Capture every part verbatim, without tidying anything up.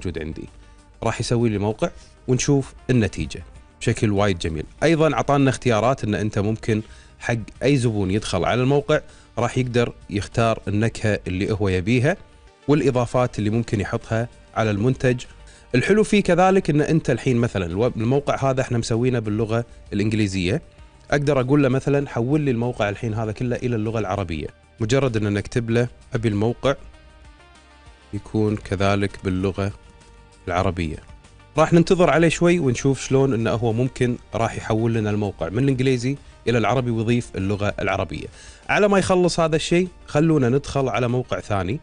موجود عندي. راح يسوي لي موقع ونشوف النتيجة بشكل وايد جميل. أيضا عطانا اختيارات أن أنت ممكن حق أي زبون يدخل على الموقع راح يقدر يختار النكهة اللي هو يبيها والإضافات اللي ممكن يحطها على المنتج. الحلو فيه كذلك أن أنت الحين مثلا الموقع هذا احنا مسوينه باللغة الإنجليزية، أقدر أقول له مثلا حول لي الموقع الحين هذا كله إلى اللغة العربية. مجرد أن نكتب له أبي الموقع يكون كذلك باللغة العربية، راح ننتظر عليه شوي ونشوف شلون انه هو ممكن راح يحول لنا الموقع من الانجليزي الى العربي ويضيف اللغة العربية. على ما يخلص هذا الشيء خلونا ندخل على موقع ثاني.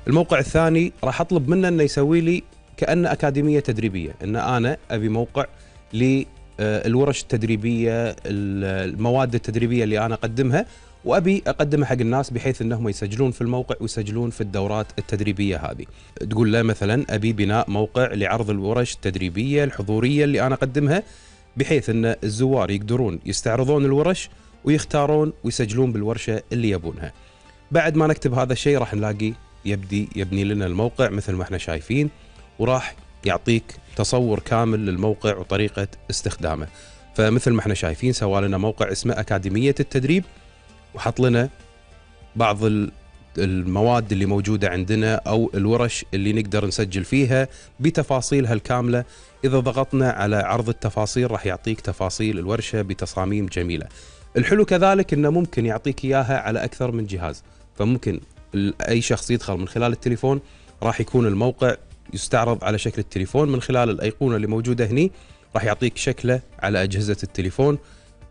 الموقع الثاني راح اطلب منه انه يسوي لي كأنه أكاديمية تدريبية، ان انا ابي موقع للورش التدريبية، المواد التدريبية اللي انا اقدمها وأبي أقدمها حق الناس بحيث أنهم يسجلون في الموقع ويسجلون في الدورات التدريبية هذه. تقول له مثلا أبي بناء موقع لعرض الورش التدريبية الحضورية اللي أنا أقدمها بحيث أن الزوار يقدرون يستعرضون الورش ويختارون ويسجلون بالورشة اللي يبونها. بعد ما نكتب هذا الشيء راح نلاقي يبدي يبني لنا الموقع مثل ما احنا شايفين، وراح يعطيك تصور كامل للموقع وطريقة استخدامه. فمثل ما احنا شايفين سوى لنا موقع اسمه أكاديمية التدريب، وحط لنا بعض المواد اللي موجودة عندنا أو الورش اللي نقدر نسجل فيها بتفاصيلها الكاملة. إذا ضغطنا على عرض التفاصيل راح يعطيك تفاصيل الورشة بتصاميم جميلة. الحلو كذلك إنه ممكن يعطيك إياها على أكثر من جهاز، فممكن أي شخص يدخل من خلال التليفون راح يكون الموقع يستعرض على شكل التليفون من خلال الأيقونة اللي موجودة هني، راح يعطيك شكله على أجهزة التليفون.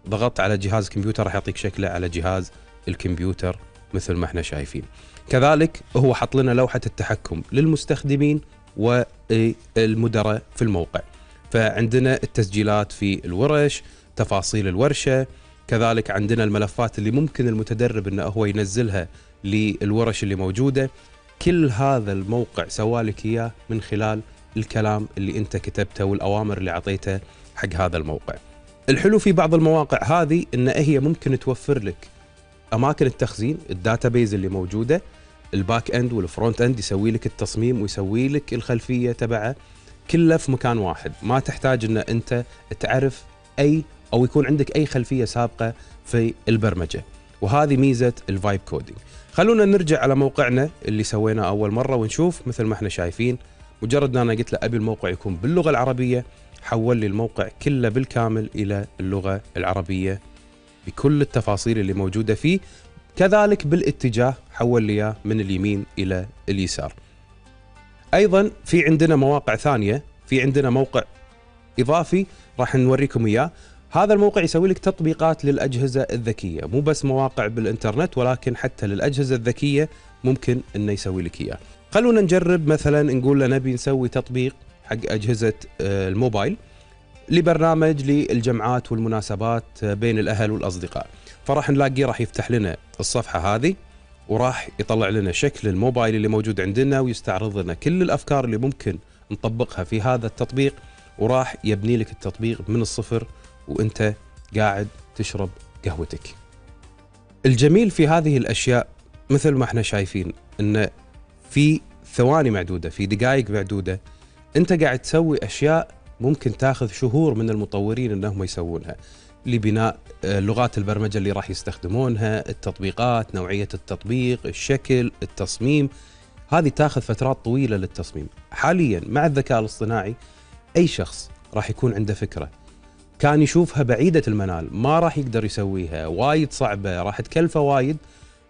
ضغطت على جهاز الكمبيوتر راح يعطيك شكله على جهاز الكمبيوتر مثل ما احنا شايفين. كذلك هو حط لنا لوحة التحكم للمستخدمين والمدراء في الموقع، فعندنا التسجيلات في الورش، تفاصيل الورشة، كذلك عندنا الملفات اللي ممكن المتدرب انه هو ينزلها للورش اللي موجودة. كل هذا الموقع سوالك اياه من خلال الكلام اللي انت كتبته والأوامر اللي عطيته حق هذا الموقع. الحلو في بعض المواقع هذه ان هي ممكن توفر لك اماكن التخزين، الداتابيز اللي موجوده، الباك اند والفرونت اند، يسوي لك التصميم ويسوي لك الخلفيه تبعه كله في مكان واحد. ما تحتاج ان انت تعرف اي او يكون عندك اي خلفيه سابقه في البرمجه، وهذه ميزه الفايب كودينج. خلونا نرجع على موقعنا اللي سويناه اول مره ونشوف. مثل ما احنا شايفين مجرد ان انا قلت له ابي الموقع يكون باللغه العربيه حول لي الموقع كله بالكامل إلى اللغة العربية بكل التفاصيل اللي موجودة فيه. كذلك بالاتجاه حول لي من اليمين إلى اليسار. أيضا في عندنا مواقع ثانية، في عندنا موقع إضافي راح نوريكم إياه. هذا الموقع يسوي لك تطبيقات للأجهزة الذكية، مو بس مواقع بالإنترنت ولكن حتى للأجهزة الذكية ممكن إنه يسوي لك إياه. خلونا نجرب مثلا نقول له نبي نسوي تطبيق حق أجهزة الموبايل لبرنامج للجمعات والمناسبات بين الأهل والأصدقاء. فراح نلاقيه راح يفتح لنا الصفحة هذه وراح يطلع لنا شكل الموبايل اللي موجود عندنا ويستعرض لنا كل الأفكار اللي ممكن نطبقها في هذا التطبيق، وراح يبني لك التطبيق من الصفر وانت قاعد تشرب قهوتك. الجميل في هذه الأشياء مثل ما احنا شايفين ان في ثواني معدودة، في دقائق معدودة انت قاعد تسوي أشياء ممكن تاخذ شهور من المطورين انهم يسوونها، لبناء لغات البرمجة اللي راح يستخدمونها، التطبيقات، نوعية التطبيق، الشكل، التصميم. هذه تاخذ فترات طويلة للتصميم. حاليا مع الذكاء الاصطناعي اي شخص راح يكون عنده فكرة كان يشوفها بعيدة المنال ما راح يقدر يسويها، وايد صعبة، راح تكلفه وايد،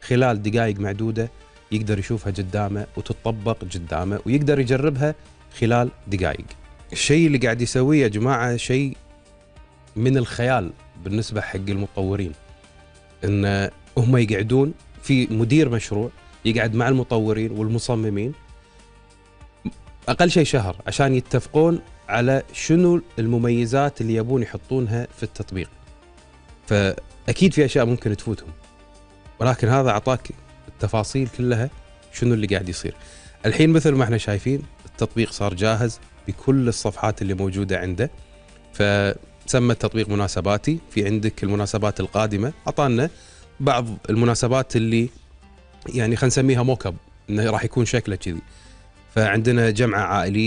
خلال دقائق معدودة يقدر يشوفها قدامه وتطبق قدامه ويقدر يجربها خلال دقائق. الشيء اللي قاعد يسويه يا جماعة شيء من الخيال بالنسبة حق المطورين، ان هم يقعدون في مدير مشروع يقعد مع المطورين والمصممين اقل شيء شهر عشان يتفقون على شنو المميزات اللي يبون يحطونها في التطبيق. فاكيد في اشياء ممكن تفوتهم، ولكن هذا اعطاك التفاصيل كلها شنو اللي قاعد يصير. الحين مثل ما احنا شايفين التطبيق صار جاهز بكل الصفحات اللي موجودة عنده. فسمى التطبيق مناسباتي، في عندك المناسبات القادمة، أعطانا بعض المناسبات اللي يعني خلينا نسميها موكب انه راح يكون شكله كذي. فعندنا جمعة عائلية